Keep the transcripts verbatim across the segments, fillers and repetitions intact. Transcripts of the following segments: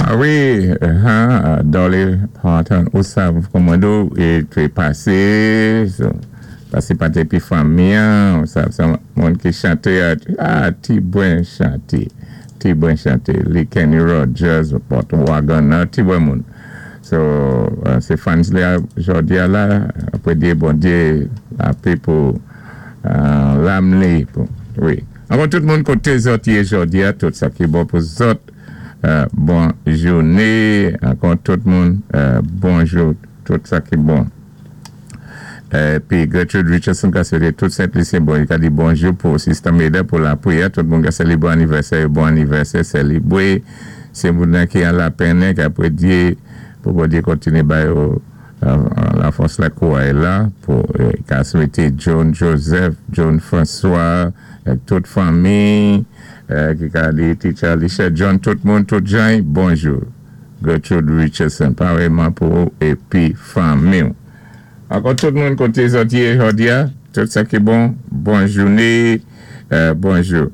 Ah wi, uh, Dolly Parton, ou sav kòmando, é té pasé, so, pasé pa épi fanmi, ou sav sa moun ki chanté, ah, ti bwen chanté, ti bwen chanté, li Kenny Rogers, Burt Waggoner, ti bwen moun. So, uh, sé fans li jòdi a la, apwé di Bondyé lapé pou uh, lam li, pou, wi. Ankò tout moun koté zòt yé jòdi a, tout sa ki bon pou zòt, Euh, bon jouné, ankò tout moun, euh, bonjou, tout sa ki bon. Épi Gertrude Richardson ka swété tout Sent-Lisyen bon, i ka di bonjou pou Sister Maida pou lapwiyè, tout moun ka sélibré anivèsè, bon anivèsè, sélibré, sé moun ki an lapenn, ki apwé di, pou Bondyé kontiné ba yo euh, lafòs la kouray la, pou ka swété John Joseph, John François, tout fanmi, ki ka di Teacher Alicia John, tout moun, tout jan, bonjou. Gertrude Richardson, parèyman pou épi fanmi. Ankò tout moun koté zòt yé jòdi a, tout sa ki bon, bon jouné, bonjou.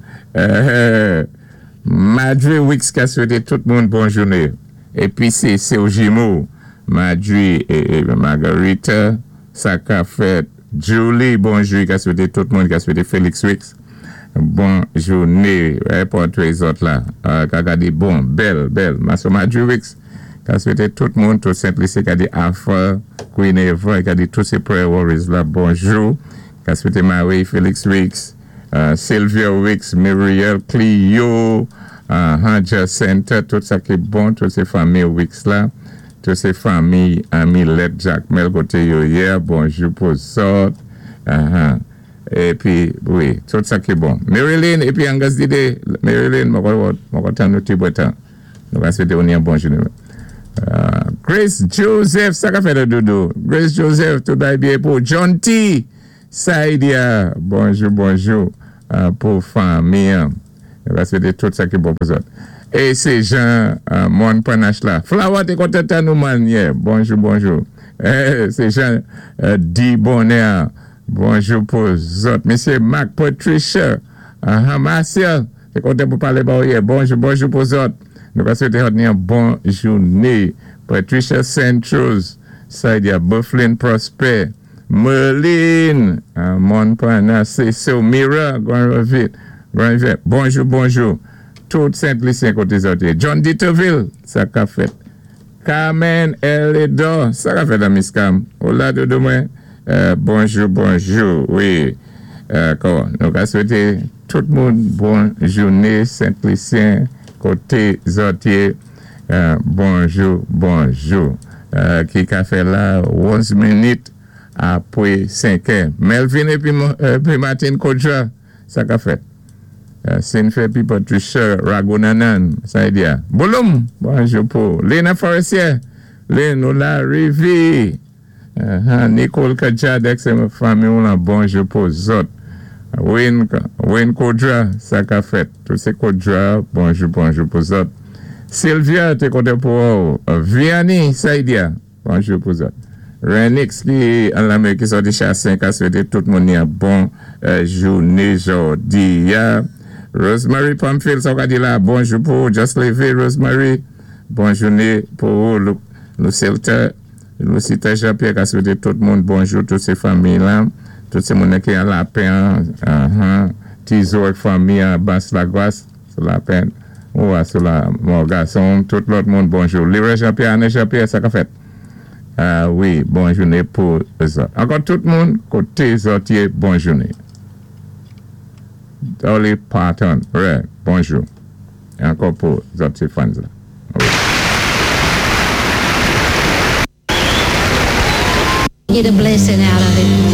Madre Wicks ka swété tout moun bon jouné. Épi sé sé jimo, Madre et Margarita, sa ka fèt. Julie, bonjou, ka swété tout moun, ka swété Felix Wicks. Bon jouné, pòtwé zòt la, ka gadé bon, bèl, bèl. Maso Madre Wicks, ka swété tout moun, tout Sent-Lisi, ka di Alpha, Queen Eva, ka di tout sé prayer warriors la, bonjou. Ka swété Marie Felix Wicks, Sylvia Wicks, Muriel Clio, Jacinta, tout sa ki bon, tout sé fanmi Wicks la, tout sé fanmi Amilet Jacmel koté yo yé, bonjou pou zòt, épi, wi, tout sa ki bon. Marilyn, épi Angus Dide, Marilyn, mwen kontan nou ti bwetan. Nou va swété ou ni yon bon jouné. Grace Joseph, sa ka fè de doudou. Grace Joseph, tout bay byen pou John T. Saidia, bonjou, bonjou, pou fanmi. Nou va swété tout sa ki bon pou zòt. É sé Jean Mon Panache la. Flower té kontan tann nou man, yeah. Bonjou, bonjou. Sé Jean D. Bonheur. Bonjou pou zòt. Mesye Mark Patricia, Marcia, té kontan pou palé ba ou yè. Bonjou, bonjou pou zòt. Nou va swété ni yon bon jouné. Patricia Saint-Rose, Saidia Bufflin Prosper, Merlin, Mon Panache, Sè Mira, Grand Rivière. Bonjou, bonjou. Tout Sent-Lisyen koté zòt. John Ditterville, sa ka fèt. Carmen Eledor, sa ka fèt la Miss Cam. Hola doudou mwen. Bonjou, bonjou, wi. Nou ka swété tout moun bon jouné Sent-Lisyen koté zòt yé. Bonjou, bonjou. Ki ka fè la onz minit apwé senk è. Melvin épi Martin Kodja, sa ka fèt. Sinfe pi Patricia Ragunanan, sa y di a. Bouloum, bonjou pou. Lena Forestier, Lena ou la rivi. Nicole Kadjadek, sé fanmi ou lan, bonjou pou zòt. Wayne Kodja, sa ka fèt. Tout sé Kodja, bonjou, bonjou pou zòt. Sylvia, té kontan pou ou. Vianney, sa y di a, bonjou pou zòt. Renix ki an Lamerik ki sòti Chassin, ka swété tout moun ni yon bon jouné jòdi a. Rosemary Pamphile, sa ka di la, bonjou pou ou. Just levé, Rosemary. Bon jouné pou ou. Lucilta, Lucita Jean-Pierre, ka swété tout moun bonjou, tout sé fanmi la. Tout sé moun ki an lapenn, Tizo ak fanmi an Bas Lagwas, sou lapenn, ou a sou la Morgason, tout lòt moun bonjou. Lira Jean-Pierre, Anne Jean-Pierre, sa ka fèt. Wi, bon jouné pou zòt. Ankò tout moun, koté zòt yé, bon jouné. Dolly Parton, wè, bonjou. Ankò pou zòt sé fans la. Wi. Get a blessing out of it.